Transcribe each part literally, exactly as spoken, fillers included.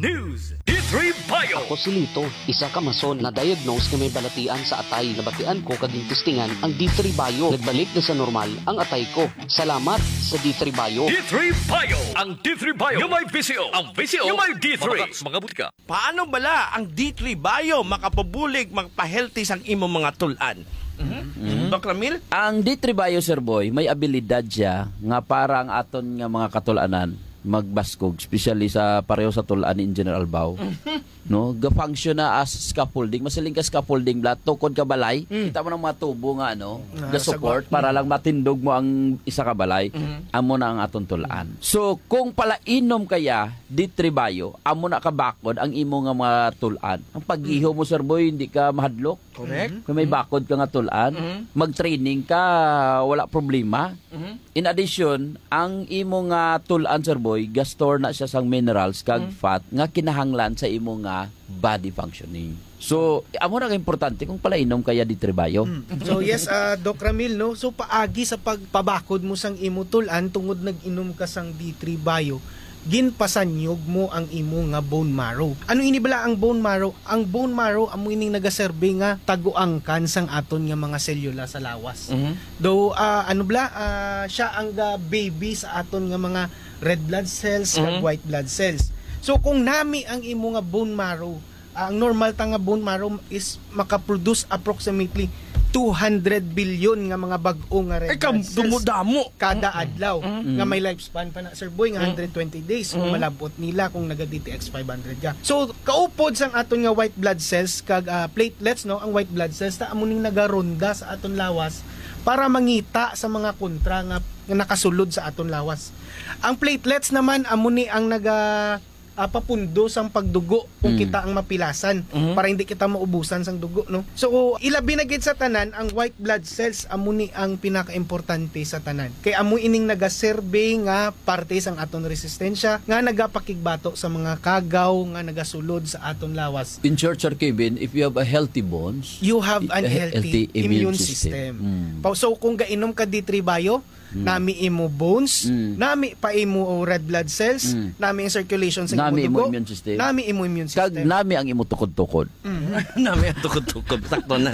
News, D three Bio. Ako si Lito, isa ka mason na diagnose nga may balatian sa atay. Nabatian ko kag gintistingan ang D three Bio. Nagbalik na sa normal ang atay ko. Salamat sa D three Bio. D three Bio. Ang D three Bio nga may V C O. Ang V C O nga may D three. Mga butika. Paano bala ang D three Bio makapabulig, makapahealthy sang imong mga tul-an? Mhm. Mhm. Doc Ramil? Ang D three Bio, Sir Boy, may abilidad siya nga para ang aton nga mga katul-anan magbaskog, especially sa pareho sa tul-an ni Engineer Albao. No, ga-function na as scaffolding. Masiling ka scaffolding, bala, tukod ka balay. Mm. Kita mo ng mga tubo nga, ano, Ah, ga-support sagwa. Para lang matindog mo ang isa ka balay. Mhm. Amo na ang aton tul-an. So, kung palainom kaya, D three Bio, amo na kabakod ang imo nga mga tul-an. Ang pag-iho Mm. mo, Sir Boy, hindi ka mahadlok. Correct. Kung may Mhm. bakod ka nga tul-an, Mhm. mag-training ka, wala problema. Mhm. In addition, ang imo nga tul-an, Sir Boy, ga-store na siya sang minerals kag Mhm. fat nga kinahanglan sa imo nga body functioning. So, amo na ka importante kung palainom kaya D three Bio. Mm. So, yes, ah, Doc Ramil, no? So, paagi sa pagpabakod mo sang imo tul-an tungod nag-inom ka sang D three Bio, ginpasanyog mo ang imo nga bone marrow. Ano ini bala ang bone marrow? Ang bone marrow amo ining nagaserbi nga taguangkan sang aton nga mga selula sa lawas. Mhm. Though, ah, ano bala, ah, siya ang ga-baby sa aton nga mga red blood cells kag Mhm. white blood cells. So, kung nami ang imo nga bone marrow, ah, ang normal ta nga bone marrow is makaproduce approximately two hundred billion nga mga bag-o nga red Ay, kam-, blood cells dumudamo. Kada Mm. adlaw, Mm. nga may lifespan pa na, Sir Boy, nga Mm. hundred twenty days kung Mm. malabot nila kung naga-D T X five hundred ka. So, kaupod sang aton nga white blood cells kag, ah, platelets, no, ang white blood cells ta amo ning nagaronda sa aton lawas para mangita sa mga kontra nga, nga nakasulod sa aton lawas. Ang platelets naman amo ni ang naga, ah, papundo sang pagdugo kung Mm. kita ang mapilasan Mhm. para hindi kita maubusan sang dugo, no? So, ilabi na gid sa tanan, ang white blood cells amo ni ang pinakaimportante sa tanan. Kay amo ining nagaserbi nga parte sang aton resistensya nga nagapakigbato sa mga kagaw nga nagasulod sa aton lawas. In short, Sir Kevin, if you have a healthy bones, You have an a he-, healthy healthy immune immune system. system. Mm. Pa-, so, kung gainom ka D three Bio, Mm. nami imo bones, Mm. nami pa imo red blood cells, Mm. nami ang circulation sa imo Nami imo dugo, immune system. Nami imo immune Kag system. Nami ang imo tukod-tukod. Mm. Nami ang tukod-tukod. Sakto na.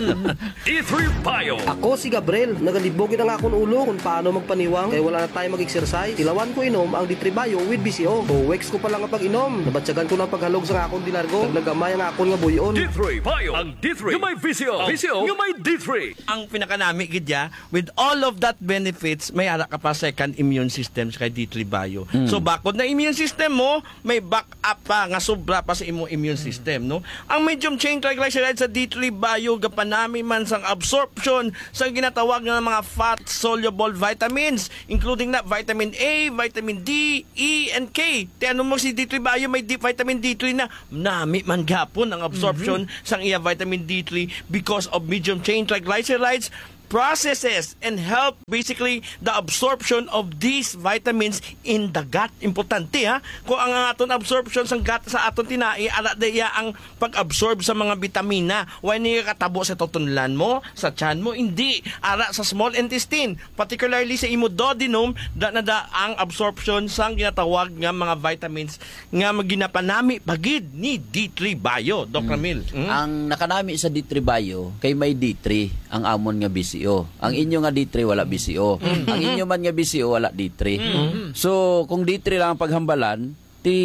D three Bio. Ako si Gabriel. Nagalibog gid ang akon ulo kung paano magpaniwang. Kay wala na tayo mag-exercise. Tilawan ko inom ang D three Bio with V C O. Two weeks ko pa lang ang pag-inom. Nabatyagan ko na ang paghalog sa akon di largo. Kag nagamay ang akon nga buyon. D three Bio. Ang D three nga may V C O. V C O nga may D three. Ang pinakanami gid ya, with all of that benefits, may ara ka pa second immune system sa kay D three Bio. Mm. So, bakod na immune system mo, may backup pa nga sobra pa sa imong immune Mm. system, no? Ang medium chain triglycerides sa D three Bio gapanami man sang absorption sa ginatawag nga mga fat-soluble vitamins, including na vitamin A, vitamin D, E, and K. Ti ano mo si D three Bio, may D, vitamin D three na. Nami man gapon ang absorption Mhm. sang iya vitamin D three because of medium chain triglycerides processes and help basically the absorption of these vitamins in the gut. Importante, ha? Kung ang aton absorption sang gut sa aton tinai, ara diya ang pag-absorb sa mga bitamina. Wala niya katabo sa tutunlan mo, sa tiyan mo, hindi. Ara sa small intestine, particularly sa imo duodenum, da na da ang absorption sang ginatawag nga mga vitamins nga ginapanami pa gid ni D three Bio, Doc Mm. Ramil. Mm. Ang nakanami sa D three Bio kay may D three ang amon nga V C O. Ang inyo nga D three wala V C O. Mm. Ang inyo man nga V C O wala D three. Mm. So, kung D three lang ang paghambalan, ti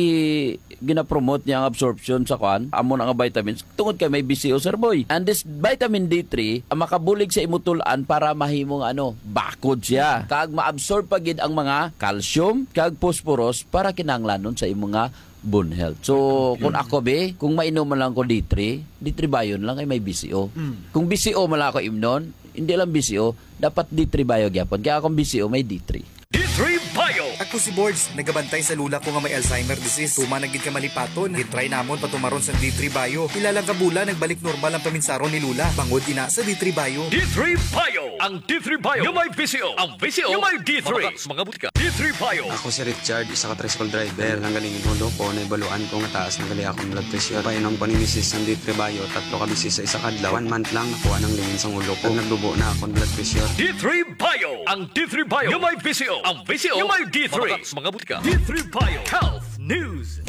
ginapromote niya ang absorption sa kuan, amon nga vitamins, tungod kay may V C O, Sir Boy. And this vitamin D three ang makabulig sa imo tul-an para mahimong ano, bakod siya. Kag maabsorb pa gid ang mga calcium kag phosphorus para kinahanglanon sa imo nga bone health. So, Okay. kung ako, be, kung mainom man lang ko D three, D three Bio lang kay may V C O. Mm. Kung V C O man lang ako imnon, hindi lang V C O, dapat D three Bio gyapon. Kaya akong V C O may D three. D three Bio. Ako si Borge, nagabantay sa lula ko nga may Alzheimer disease. Tuman na gid ka malipaton. Gitry namon patumaron sa D three Bio. Pila lang ka bulan, nagbalik normal ang paminsaron ni Lula. Bangod ina sa D three Bio. D three Bio. Ang D three Bio nga may V C O. Ang V C O nga may D three. Mga, mga butika. D three Bio. Ako si Richard, isa ka tricycle driver. Nanggaling yung ulo ko, naibaluan ko nga taas na gali akong blood pressure. Painom ko ni misis sang D three Bio, tatlo ka bisis sa isa ka adlaw. One month lang, nakuha ng lingin sang ulo ko. Nagdubo na akong blood pressure. D three Bio. Ang D three Bio nga may V C O. Ang V C O nga may D three. Mga, mga butika. D three Bio. Health News.